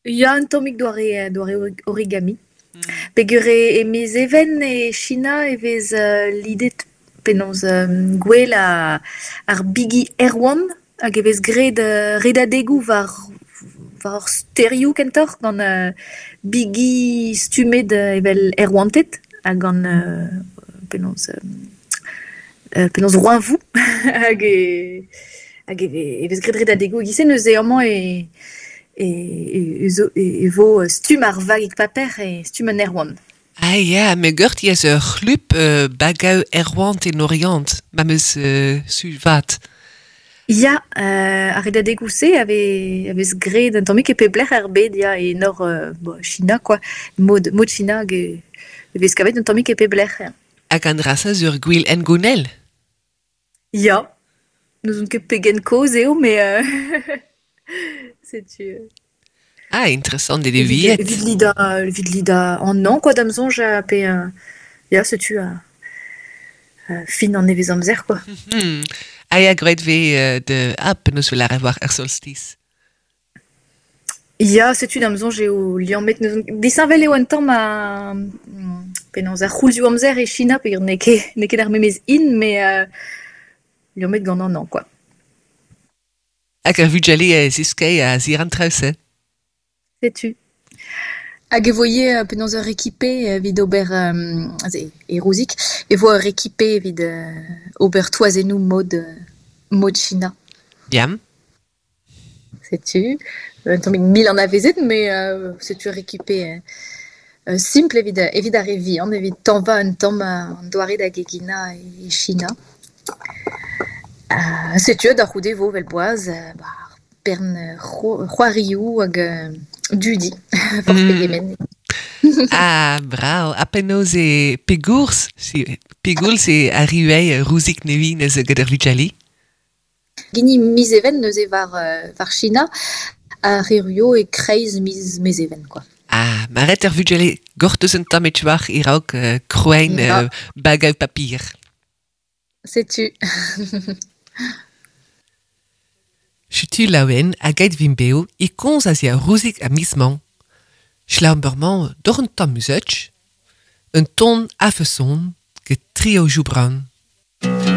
Ya un tammig doare doare origami. Peogwir e miz Even e Sina e vez lidet penaos gouel ar bigi aerouant hag e vez graet redadegoù war ar stêrioù kentoc'h gant bigi stummet evel aerouanted ha gant penaos penaos roeñvoù hag e hag e vez graet redadegoù e-giz-se neuze amañ e e vo stumm ar vagig paper e stumm un aerouant. Ah ya, me geurt ez ur c'hlub bagaoù aerouant en Oriant, ma 'm eus su vat. Ya, ar redadegoù-se a vez a vez graet un tammig e pep lec'h er bed ya, e nor Sina kwa, mod mod Sina hag e vez kavet un tammig e pep lec'h ya. Hag an dra-se zo ur gwir hengounel? Ya, n'ouzon ket pegen kozh eo met setu. Ah, interessant eo viet. Evit lidañ evit lidañ an hañv kwa da'm soñj pe ya setu fin an nevezamzer kwa. Ah ya, graet 'vez de ah penaos 'vel ar war ar solstice. Ya, setu da'm soñj eo liammet n'ouzon disheñvel eo un tamm ar penaos ar c'houlzioù-amzer e Sina peogwir n'eo ket n'eo ket ar memes hin met liammet gant an hañv kwa. Hag ar vugale a ziskei a zir an traoù-se. Setu. Hag e vo ivez penaos ur rekipe evit ober aze e Rouzig e vo ur rekipe evit ober toazennoù mod mod Sina. Ya. Setu un tammig mil anavezet met setu ur rekipe simpl evit evit ar re vihan evit tañva un tamm an doare da geginañ e Sina. Setu da c'houde e vo evel boaz ba ar bern c'hoarioù hag dudi forzh pegement. Ah, brav. Ha penaos eo pegoulz pegoulz eo arri ivez Rouzig nevez neuze gant ar vugale? Hini miz Even neuze war war Sina a erruo e-kreiz miz Mezheven kwa. Ah, ma ret ar vugale gortoz un tamm e-tchouar e-raok krouein bagaoù papir. Setu. Setu laouen hag aet vin bev e komz a-ziàr Rouzig ar miz-mañ. Selaouomp bremañ doc'h un tamm muzeuch, un ton a-feson get Trio Joubran.